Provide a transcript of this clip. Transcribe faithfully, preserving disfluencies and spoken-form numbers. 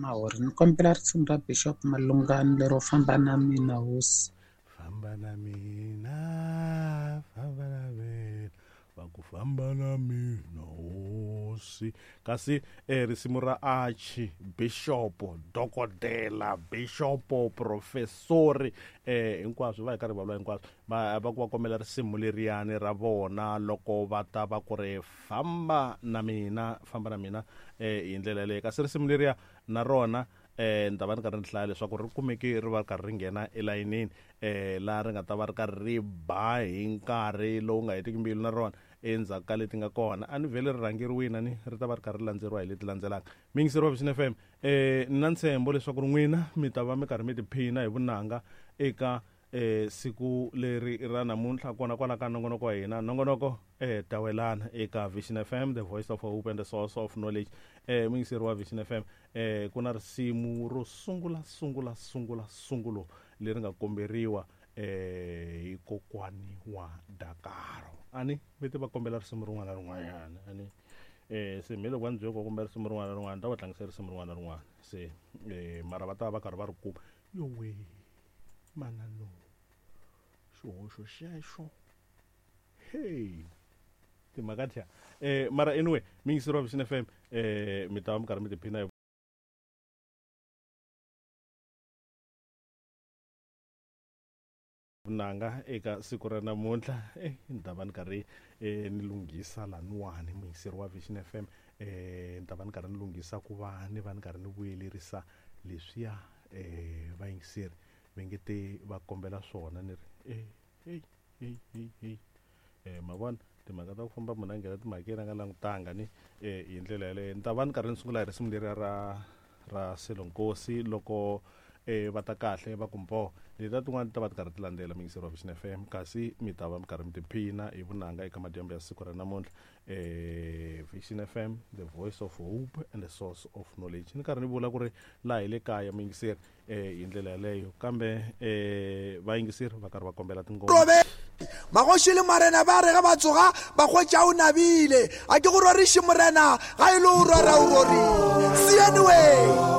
Mahori. Ni kombela risimu ra Bishop Malungani lero famba na mina hosi. Famba na mina, famba na mina, va ku famba na mina hosi. Kasi eh, risimu ra Archie Bishop, dokodela Bishop, professori eh hinkwaswo va hi karhi va vula hinkwaswo va va ku va kombela risimu leriyani ra vona loko va ta va ku ri famba na mina, famba na mina eh hi ndlela yaleyo. Kasi risimu leriya na rona eh ni ta va ni karhi ni hlaya leswaku ri kumeke ri va ri karhi ri nghena elayinini eh laha ri nga ta va ri karhi ri ba hi nkarhi lowu nga hetiki mbilu na rona endzhaku ka leti nga kona. A ni vhele ri rhangeriwile ni ri ta va ri karhi ri landzeriwa hi leti landzelaka. Miyingiseri wa Vision F M, eh ni na ntshembo leswaku ri n'wina mi ta va mi karhi mi tiphina hi vunanga eka eh siku leri ra namuntlha kona kwala ka nongonoko wa hina, nongonoko eh tawelana eka Vision F M, the voice of hope and the source of knowledge. Eh muyingiseri wa Vision F M, eh ku na risimu ro sungula sungula sungula sungulo leri nga komberiwa eh hi kokwani wa Dakaro. Ani vete va kombela risimu rin'wana na rin'wanyana ani eh se me loko va ni byele ku va kombela risimu rin'wana na rin'wana ni ta va tlangisa risimu rin'wana na rin'wana se eh mara va ta va karhi va ri kuma yowe manano xihoxo xexo hey timhaka thya eh mara anyway miyingiseri wa Vision F M eh mi ta va mi karhi mi tiphina hi vunanga eka siku ra namuntlha. Eh ni ta va ni karhi eh ni lunghisa laniwani muyingiseri wa Vision F M, eh ni ta va ni karhi ni lunghisa ku va ni va ni karhi ni vuyelerisa leswiya eh vayingiseri va nge te va kombela swona ni ri eh hey hey hey hey eh ma vona timhaka ta ku famba munhu a nghena timhakeni a nga langutanga ni eh hi ndlela yaleyo. Ni ta va ni karhi ni sungula hi risimu leriya ra ra Selonkosi loko eh va ta kahle va ku mbo letiya tin'wana ti ta va ti karhi ti landzela muyingiseri wa Vision F M, kasi mi ta va mi karhi mi tiphina hi vunanga eka madyambu ya siku ra namuntlha. Eh Vision F M, the voice of hope and the source of knowledge. Ni karhi ni vula ku ri laha hi le kaya muyingiseri eh hi ndlela yaleyo, kambe eh vayingiseri va karhi va kombela tingoma. Magoši le marena ba re ge ba tsoga ba hwetša o nabile. A ke go roriše morena ga e le o rora o rorile. See anyway.